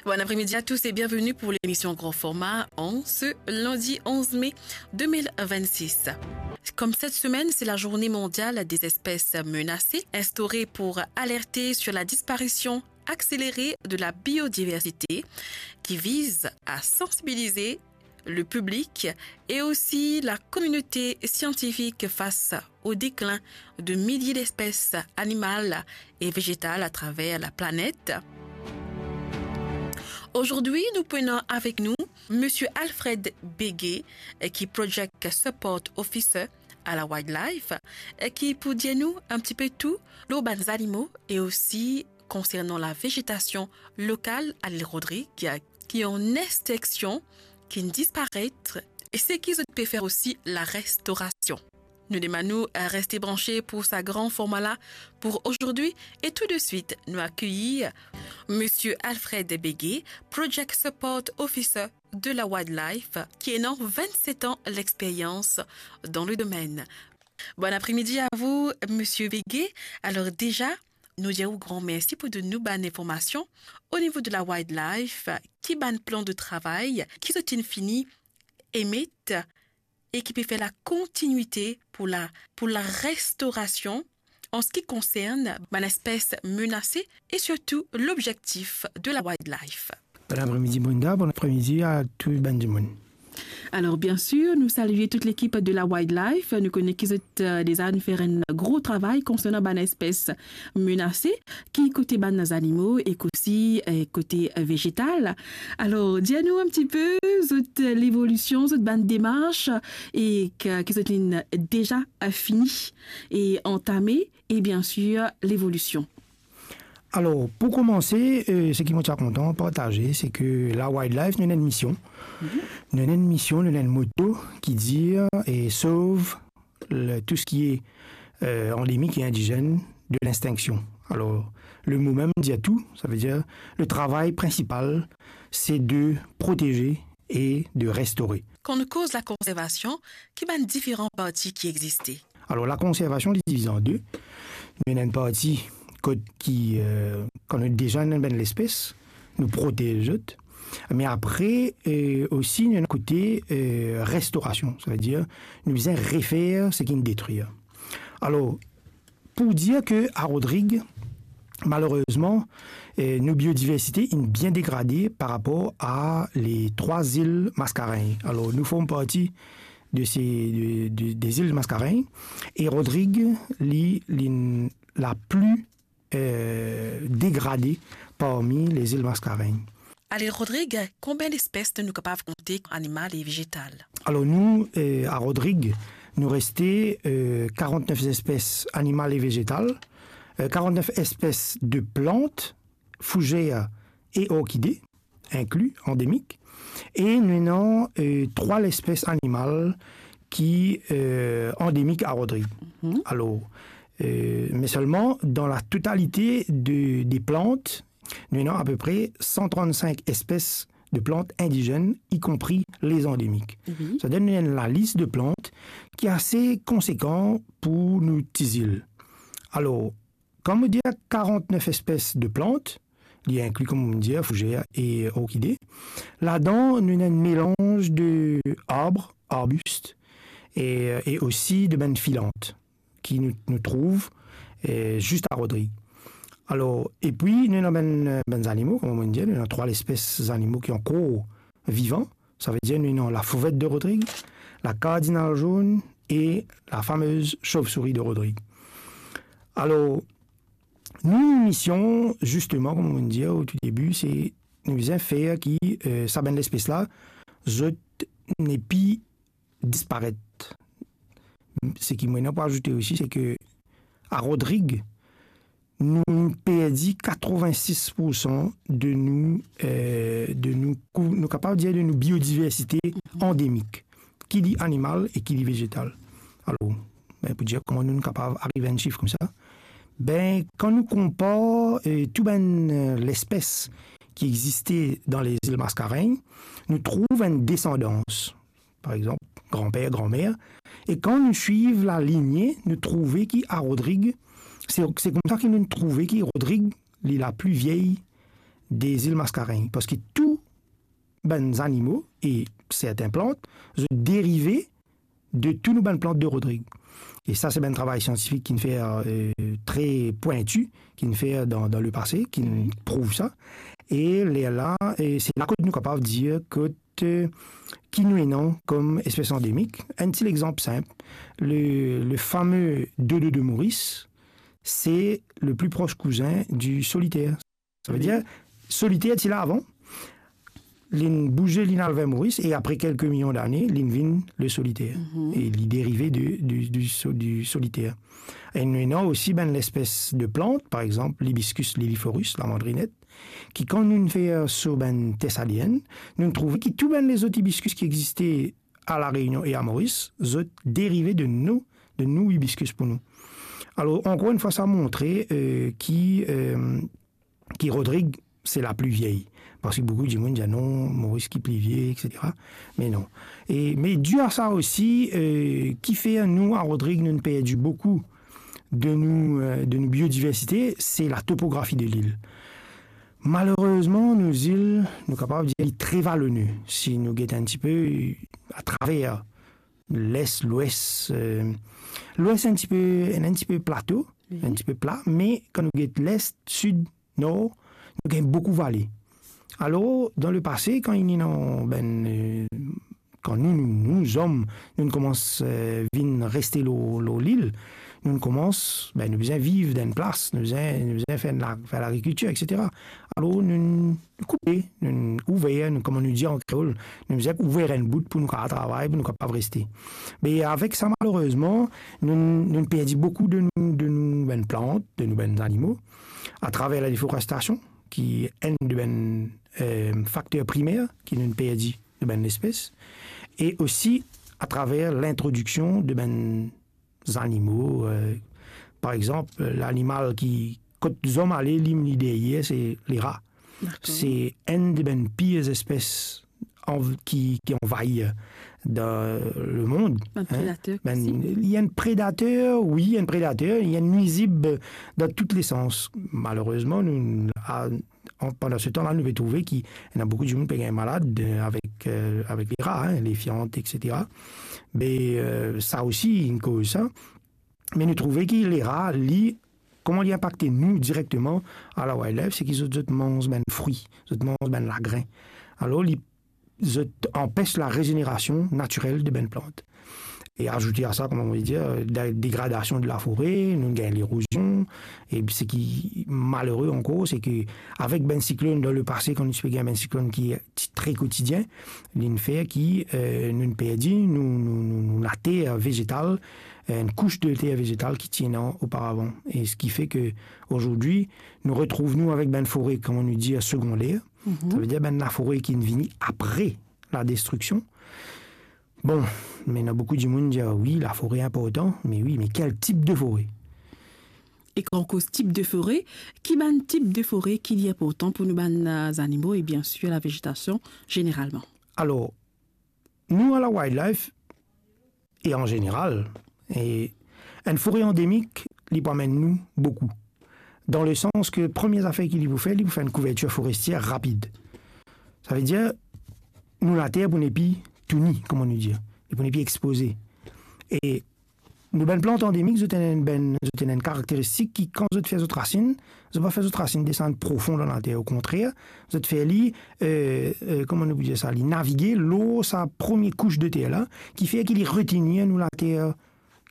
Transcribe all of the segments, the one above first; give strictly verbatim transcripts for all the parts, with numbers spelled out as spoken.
Bon après-midi à tous et bienvenue pour l'émission Grand Format en ce lundi onze mai deux mille vingt-six. Comme cette semaine, c'est la journée mondiale des espèces menacées, instaurée pour alerter sur la disparition accélérée de la biodiversité, qui vise à sensibiliser le public et aussi la communauté scientifique face au déclin de milliers d'espèces animales et végétales à travers la planète. Aujourd'hui, nous prenons avec nous Monsieur Alfred Bégué, euh, qui est Project Support Officer à la Wildlife, euh, qui pour dire nous un petit peu tout, lor bann zanimo et aussi concernant la végétation locale à l'île Rodrigue, qui est en extinction, qui disparaît, et ce qu'ils peuvent faire aussi la restauration. Nou demann ou, euh, reste branché pour sa grand format là pour aujourd'hui. Et tout de suite, nous accueillons Monsieur Alfred Bégué, Project Support Officer de la Wildlife, qui a vingt-sept ans l'expérience dans le domaine. Bon après-midi à vous, Monsieur Bégué. Alors déjà, nou dir ou gran mersi pou donn nou bann informasion o nivo de la Wildlife, ki bann plan de travay ki zot inn fini emet e ki pe fer la kontinuite pour la, pour la restaurasion en ce qui concerne bann espèces menacées et surtout l'objectif de la Wildlife. Bon après-midi Brenda, bon après-midi à tout bann dimoun. Alors bien sûr, nous saluons toute l'équipe de la Wildlife. Nou kone ki zot, euh, déjà inn fer enn gro travay konsernan bann espèces menacées, ki kote bann zanimo e osi, euh, kote, euh, vegetal. Alors, dir nou un petit peu zot, euh, l'évolution, zot bann demars e ki, ki zot inn déjà, euh, fini e antame, e bien sûr, l'évolution. Alor, pou koumanse, euh, seki mo ti a kontan partaze, se ke la Wildlife, nou ena enn mision. Mhm. Nou ena enn mision, nou ena enn moto ki dir, euh, sauve le, tout ce qui est, euh, endémique et indigène de l'extinction. Alors, le mot même dit tout, ça veut dire le travail principal, c'est de protéger et de restaurer. Kan nou koz la konservasion, ki bann diferan parti ki existe? Alor, la konservasion, li divize an de. Nou ena enn parti kot ki, euh, kan nou deja ena bann lespes, nou protez zot. Me apre, euh, osi, nou ena kote, euh, restorasion. Sa ve dir, nou bizin refer seki inn detrir. Alor, pou dir ke a Rodrig, malerezman, eh, nou biodiversite inn bien degrade par rapor a le trwa zil Mascarenhas. Alor, nou form parti de se, de, de, de zil Mascarenhas, e Rodrig, li, li la pli, eh, degrade parmi le zil Mascarenhas. Ale, Rodrig, konbien lespes nou kapav konte, animal e vegetal? Alor, nou, eh, a Rodrig, nou reste, eh, karant-nef espes animal e vegetal, eh, karant-nef espes de plant, fouzere e orkide, inkli, andemik, e nou ena, eh, trwa lespes animal ki, eh, andemik a Rodrig. Mhm. Alor, eh, me selman, dan la totalite de, de plant, nou ena apepre san trant-sink espes de plant indigenn, ikonpri lezandemik. Mhm. Sa donn nou enn lalis de plant ki ase konsekan pou nou ti zil. Alor, kan mo dir karant-nef espes de plant, li inkli, kouma mo dir, fouzere e orkide, ladan nou ena enn melanz de arb, arbis, e, e osi de bann filant ki nou, nou trouv, eh, zis a Rodrig. Alor, epi nou ena bann, bann zanimo, kouma mo dir, nou ena trwa lespes zanimo ki ankor vivan. Sa ve dir nou ena la fouvet de Rodrig, la kardinal zonn e la famez sovsouri de Rodrig. Alor, nou mision, zisteman, kouma mo dir o tou debi, se nou bizin fer ki, eh, sa bann lespes la, zot nepi disparet. Seki mo ena pou azoute osi, se ke a Rodrig, nou perdi katrevin-sis poursan de nou, eh, de nou kou-, nou kapav dir de nou biodiversite andemik, ki li animal e ki li vegetal. Alor, ben, pou dir kouma nou kapav ariv a enn sif koumsa, ben, kan nou konpar, eh, tou bann, eh, lespes ki existe dan lezil Mascarenhas, nou trouv enn desandans. Par exanp, granper, granmer. E kan nou swiv lalinie, nou trouve ki a Rodrig, se, se koumsa ki nou trouve ki Rodrig, li la pli vie, de zil Mascarenhas, parski tou bann zanimo e sertin plant, zot derive de tou nou bann plant de Rodrig. E sa, se bann travay siantifik ki'nn fer, eh, tre pwinti, ki'nn fer dan, dan lepase, ki'nn prouv sa. E lerla, eh, se la kot nou kapav dir kot, eh, ki nou ena kom espes andemik. Enn ti lexanp sinp, le, le fame dodo de Moris, se le pli pros kouzin di soliter. Savedir, soliter ti la avan, li'nn bouze, li'nn al ver Moris, e apre kelke milion dane, li'nn vinn le soliter. E li derive de, di, di so-, di soliter. E nou ena osi bann lespes de plant, par exanp, l'hibiscus liliflorus, lamandrinet, ki kan nou fer so bann tes ADN, nou trouve ki tou bann lezot hibiscus ki existe a La Reunion e a Moris, zot derive de nou, de nou hibiscus pou nou. Alor, ankor enn fwa, sa montre, eh, ki, eh, ki Rodrig, se la pli vie. Parski boukou dimoun dir, "Non, Moris ki pli vie, et cetera." Me non. E, me di a sa osi, eh, ki fer nou, a Rodrig, nou'nn perdi boukou de nou, eh, de nou biodiversite, se la topografi de lil. Malerezman, nou zil, nou kapav dir, li tre valone. Si nou get enn tipe atraver les, lwes, eh, lwes enn tipe, enn, enn tipe plato, enn tipe pla, me kan nou get les, sid, nor, nou gagn boukou vale. Alor, dan lepase, kan inn ena bann, eh, kan nou, nou, nou zom, nou'nn koumans, eh, vinn reste lor, lor lil, nou'nn koumans, be, nou bizin viv dan enn plas, nou bizin, nou bizin fer la, fer lagrikiltir, et cetera. Alor, nou koupe, nou ouver, nou, kouma nou dir an kreol, nou bizin ouver enn bout pou nou kapav travay, pou nou kapav reste. Me avek sa, malerezman, nou, nou perdi boukou de nou, de nou bann plant, de nou bann zanimo, atraver ladeforestasion, ki enn de bann, eh, fakter primer ki nou perdi de bann lespes, e osi atraver lintrodiksion de bann zanimo, eh, par exanp, lanimal ki, kot zom ale, li, li deryer, se lera. Dakor. Se enn de bann pir espes anv-, ki, ki anvahir dan lemond, bann predater, li enn predater, wi, enn predater, li enn nwizib dan tou lesans. Malerezman, nou, a, an, pandan se tan-la, nou pe trouve ki ena boukou dimoun pe gagn malad, eh, avek, eh, avek lera, lefiant, et cetera. Me, eh, sa osi, inn koz sa. Me nou trouve ki lera, li, kouma li inpakte nou direkteman a la wildlife, se ki zot, zot manz bann frwi, zot manz bann lagrin. Alor, li, zot anpes larezenerasyon natirel de bann plant. E azoute a sa, kouma mo dir, de-, degradasion de lafore, nou gagn lerozion, e seki malere ankor, se ki avek bann siklonn dan lepase, kan nou ti pe gagn bann siklonn ki ti tre kotidien, li'nn fer ki, eh, nou perdi nou, nou, nou, nou later vezetal, enn kous de later vezetal ki ti ena oparavan. E seki fer ki azordi, nou retrouv nou avek bann fore, kouma nou dir, segonder. Savedir bann lafore ki vini apre ladestriksion. Bon, me ena boukou dimoun dir, "Wi, lafore inportan." Me wi, me kel tip de fore? E kan nou koz tip de fore, ki bann tip de fore ki li inportan pou nou bann, eh, zanimo e biensir lavezetasion zeneralman? Alor, nou a la wildlife, e an zeneral, e enn fore andemik, li pou amenn nou boukou. Dan lesans ki premie zafer ki li pou fer, li pou fer enn kouvertir forestier rapid. Savedir, nou later pou nepi touni, kouma nou dir. Li pou nepi expoze. E nou bann plant andemik, zot ena enn bann, zot ena enn karakteristik ki, kan zot fer zot rasinn, zot pa fer zot rasinn desann profon dan later. Okontrer, zot fer li, eh, eh, kouma nou pou dir sa, li navige lor sa premie kous de ter la, ki fer ki li retenir nou later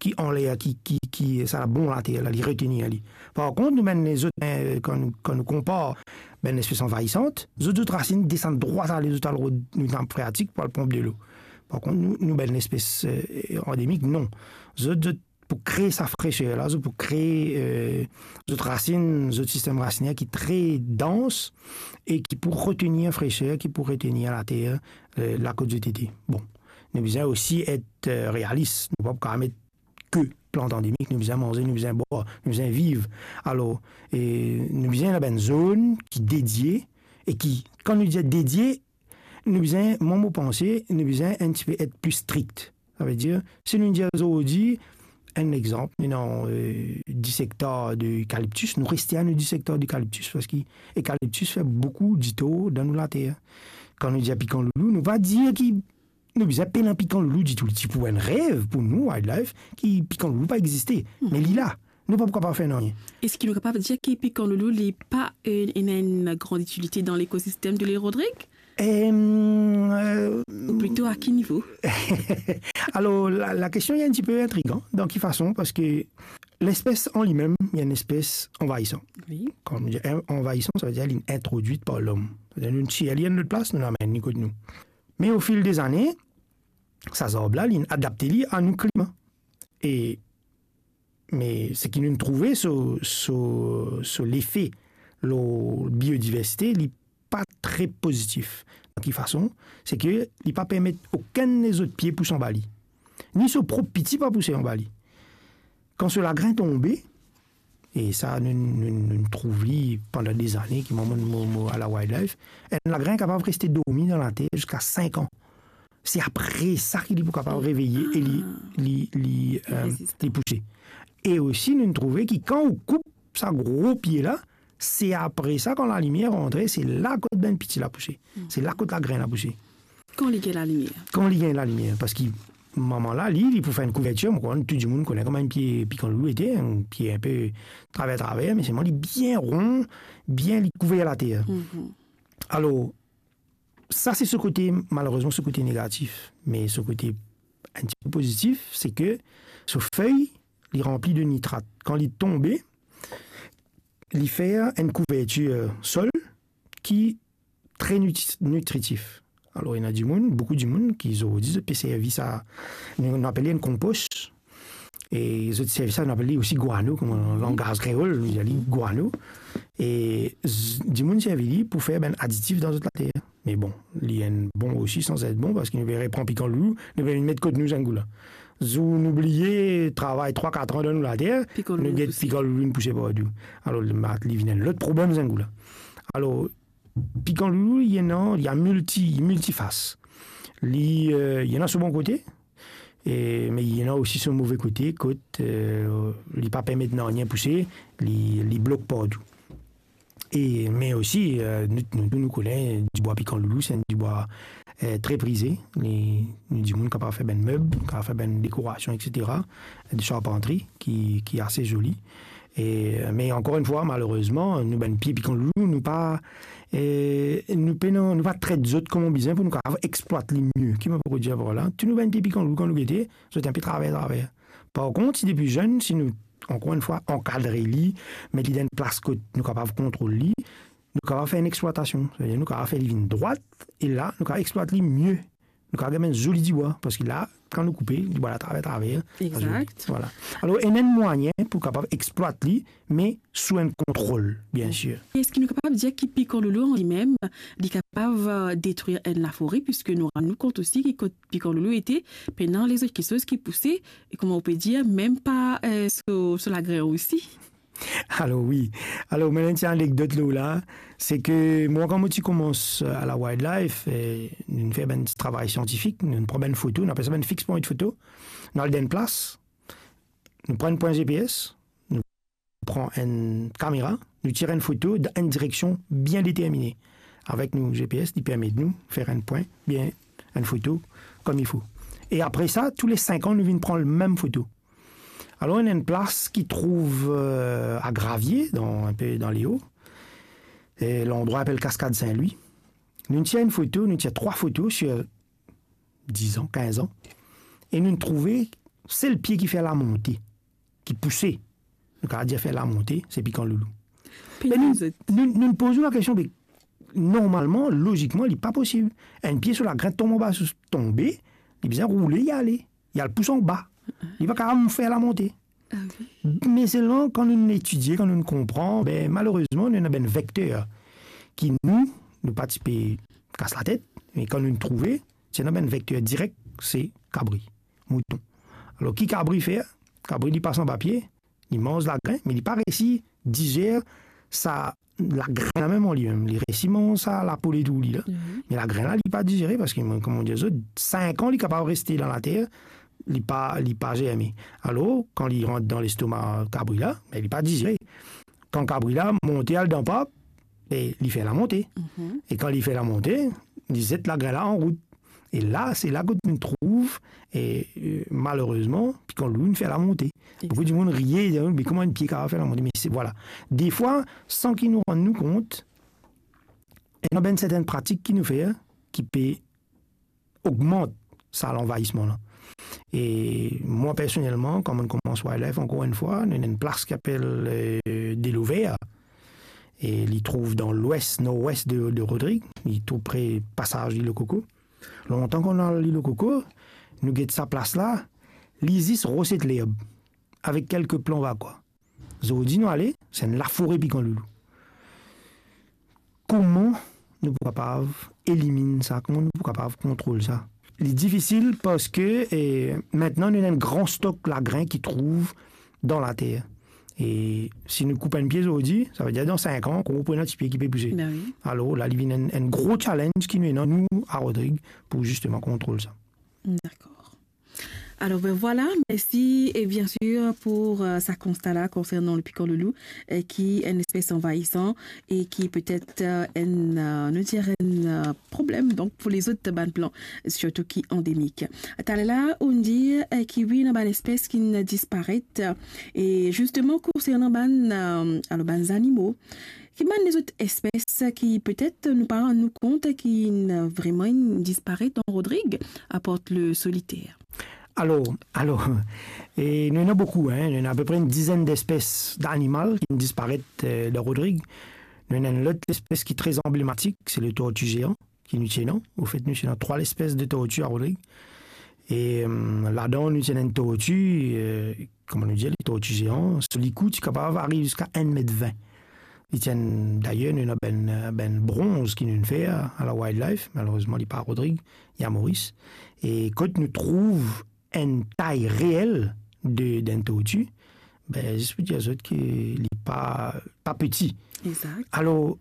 ki anler, ki, ki, ki, sa labon later la, li retenir li. Par kont, nou bann lezot, eh, kan nou, kan nou konpar bann lespes anvayisan, zot, zot rasinn desann drwat ale, zot al rod nou nap freatik pou al ponp delo. Par kont, nou, nou bann lespes, eh, andemik, non. Zot, zot pou kree sa freser la, zot pou kree, eh, zot rasinn, zot sistem rasiner ki tre dans e ki pou retenir freser, ki pou retenir later, eh, la kot zot ete. Bon, nou bizin osi et, eh, realis. Nou pa pou kapav met ke plant andemik, nou bizin manze, nou bizin bwar, nou bizin viv. Alor, eh, nou bizin ena bann zone ki dedie e ki, kan nou dir dedie, nou bizin, mwa, mo panse, nou bizin enn tipe et pli strik. Savedir, si nou dir azordi, enn exanp, nou ena, eh, dis ektar de ekaliptis, nou reste a nou dis ektar de ekaliptis, parski ekaliptis fer boukou ditor dan nou later. Kan nou dir pikan loulou, nou pa dir ki nou bizin pena pikan loulou ditou. Li ti pou enn rev pou nou, wildlife, ki pikan loulou pa existe. Me li la. Nou pa pou kapav fer nanye. Eski nou kapav dir ki pikan loulou, li pa, eh, ena enn gran itilite dan lekosistem de l'île Rodrigue? Em, eh, Ou plito a ki nivo? Alor, la, la kestion, li enn tipe intrigan. Dan ki fason? Parski lespes an limem, li enn espes anvayisan. Wi. Kan nou dir en-, anvayisan, savedir li introdwit par lom. Savedir nou tir li enn lot plas, nou amenn li kot nou. Me o fil dezane, sa zarb la, li adapte li a nou klima. E, me seki nou trouve so, so, so lefe lor biodiversite, li pa tre pozitif. Dan ki fason? Se ke li pa permet okenn lezot pie pous anba li. Ni so prop piti pa pouse anba li. Kan so lagrin tonbe, e sa, nou, nou, nou trouv li pandan dezane, ki mwa, mo, mo, mo a la wildlife, enn lagrin kapav reste dormi dan later ziska sink an. Se apre sa ki li pou kapav reveye e li, Ah. li, li, Li eh, reziste. li pouse. E osi, nou trouve ki kan ou koup sa gro pie la, se apre sa, kan lalimier rantre, se la kot bann piti la pouse. Se la kot lagrin la pouse. Kan li gagn lalimier. Kan li gagn lalimier, parski mama la, li, li pou fer enn kouvertir, mo krwar tou dimoun kone kouma enn pie pikan loulou ete, enn pie inpe traver, traver, me selman li bien ron, bien, li kouver later. Mhm. Alor, sa se so kote, malerezman, so kote negatif. Me so kote enn tipe pozitif, se ke so fey, li ranpli de nitrat. Kan li tonbe, li fer enn kouvertir sol ki tre nitri-, nitritif. Alor, ena dimoun, boukou dimoun ki zordi zot pe servi sa, nou, nou apel li enn konpos. E zot servi sa, nou apel li osi gwano, kouma an langaz kreol, nou dir li gwano. E z-, dimoun servi li pou fer bann aditif dan zot later. Me bon, li enn bon osi, san zet bon, parski nou pe repran pikan loulou, nou pe vinn met kot nou zingou la. Zour nou bliye travay trwa, kat an dan nou later, Pikan nou loulou get pouse. Pikan loulou inn pouse partou. Alor, li, li vinn enn lot problem zingou la. Alor, pikan loulou, li ena, li a milti, miltifas. Li, eh, li ena so bon kote, e, me li ena osi so move kote, kot, eh, li pa permet nanye pouse, li, li blok partou. E, me osi, eh, nou, nou, nou kone, dibwa pikan loulou, se enn dibwa, eh, tre prize. Li, nou dimoun kapav fer bann meb, kapav fer bann dekorasion, et cetera. De charpantri ki, ki ase zoli. E, me ankor enn fwa, malerezman, nou bann pie pikan loulou, nou pa, eh, nou pena, nou pa tret zot kouma bizin pou nou kapav eksplwat li mie. Ki mo pou dir par la? Tou nou bann pie pikan loulou, kan nou gete, zot inpe traver, traver. Par kont, si depi zenn, si nou, ankor enn fwa, ankadre li, met li dan enn plas kot nou kapav kontrol li, nou kapav fer enn eksplwatasion. Savedir nou kapav fer li vinn drwat, e la, nou kapav eksplwat li mie. Nou kapav gagn enn zoli dibwa, parski la, kan nou koupe, dibwa la traver, traver. Exact. Vwala. Alor, ena enn mwayin pou kapav eksplwat li, me sou enn kontrol, bien sir. Eski nou kapav dir ki pikan loulou an limem, li kapav, eh, detrir enn lafore, piski nou rann nou kont osi ki kot pikan loulou ete, pena lezot kiksoz ki pouse, e kouma ou pe dir, mem pa, eh, so, so lagrin osi. Alor, wi. Alor, mo ena enn ti anekdot lor la, se ke mwa, kan mo ti koumans, eh, a la wildlife, eh, nou fer bann travay siantifik, nou pran bann foto, nou apel sa bann fix point foto, nou al dan enn plas, nou pran enn pwin G P S, nou pran enn kamera, nou tir enn foto dan enn direksion bien determine. Avek nou G P S, li permet nou fer enn pwin, bien, enn foto kouma il fo. E apre sa, tou le sink an, nou vinn pran lemem foto. Alor, ena enn plas ki trouv, eh, a Gravie, dan, inpe dan leo. E landrwa apel Cascade Saint-Louis. Nou tir enn foto, nou tir trwa foto sir diz an, kinz an. E nou trouve sel pie ki fer lamonte, ki pouse, nou kapav dir fer lamonte, se pikan loulou. Pena lezot. Nou, nou poz nou lakestion, me normalman, lozikman, li pa posib. Enn pie so lagrin tonm anba, sou, tonbe, li bizin roule, li ale. Li al pous anba. Li pa kapav fer lamonte. Ah wi. Me selman, kan nou etidie, kan nou konpran, be, malerezman, nou ena bann vekter ki nou, nou pa ti pe kas latet, me kan nou trouve, ti ena bann vekter direk, se kabri, mouton. Alor, ki kabri fer? Kabri, li pas anba pie, li manz lagrin, me li pa resi dizer sa lagrin la mem an limem. Li resi manz sa lapo letou li la. Mhm. Me lagrin la, li pa dizere, parski, mo, kouma mo dir zot, sink an, li kapav reste dan later, li pa, li pa zerme. Alor, kan li rant dan lestoma kabri la, be, li pa dizere. Kan kabri la monte al dan pap, e li fer lamonte. Mhm. E kan li fer lamonte, li zet lagrin la anrout. E la, se la kot nou trouv, e, e, malerezman, pikan loulou inn fer lamonte. Boukou dimoun riye, dir, "Me kouma enn pie kapav fer lamonte?" Me se, vwala. Defwa, san ki nou rann nou kont, ena bann sertenn pratik ki nou fer, ki pe ogmant sa lanvayisman la. E mwa, personelman, kan mo'nn koumans wildlife, ankor enn fwa, nou ena enn plas ki apel, e, Delo Ver. E li trouv dan lwes, norwes de, de Rodrig. Li tou pre pasaz Lilo Koko. Lontan kan nou al Lilo Koko, nou get sa plas la, li zis ros ek lerb, avek kelke plan vakwa. Zordi nou ale, se enn lafore pikan loulou. Kouma nou pou kapav eliminn sa? Kouma nou pou kapav kontrol sa? Li difisil parski, e, aster nou ena enn gran stok lagrin ki trouv dan later. E si nou koup enn pie zordi, savedir dan sink an, kouma pou ena ti pie ki pe bouz? Ben wi. Alor la, li vinn enn, enn gro challenge ki nou ena, nou, a Rodrig, pou zisteman kontrol sa. Dakor. Alor, ben vwala, mersi, e bien sir, pou, e, sa konsta la konsernan le pikan loulou, e, ki enn espes anvayisan e ki petet, e, enn, e, nou dir enn, e, problem, donk, pou lezot bann plan, sirtou ki andemik. Taler la, ou'nn dir, e, ki wi, ena bann espes ki'nn disparet, e zisteman, konsernan bann, e, alor, bann zanimo, ki bann lezot espes ki petet nou pa rann nou kont ki'nn vreman inn disparet dan Rodrig, apar le soliter? Alor, alor, e nou ena boukou, hein, nou ena apeprey enn dizenn despes danimal ki'nn disparet, e, dan Rodrig. Nou ena enn lot lespes ki tre anblematik, se le torti zean ki nou ti ena. Anfet, nou ti ena trwa lespes de torti a Rodrig. E, em, ladan, nou ti ena enn torti, e, kouma nou dir, le torti zean, so likou ti kapav ariv ziska enn met vin. Li ti enn, dayer, nou ena bann, bann bronz ki nou'nn fer a la wildlife, malerezman, li pa Rodrig, li a Moris. E kot nou trouv enn tay reel de, d'enn torti, be, zis pou dir zot ki li pa, pa piti. Exact. Alor,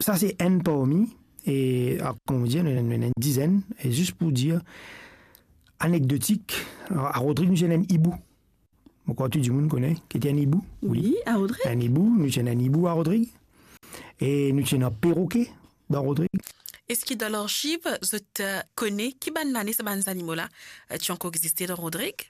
sa se enn parmi, e, a, kouma dir, nou, nou ena enn dizenn, e zis pou dir, anekdotik, a, a Rodrig, nou ti ena enn ibou. Mo krwar tou dimoun kone ki ti enn ibou. Wi, a Rodrig. Enn ibou, nou ti ena enn ibou a Rodrig. E nou ti ena peroke dan Rodrig. Eski dan larziv, zot, e, kone ki bann lane sa bann zanimo la, e, ti ankor existe dan Rodrig?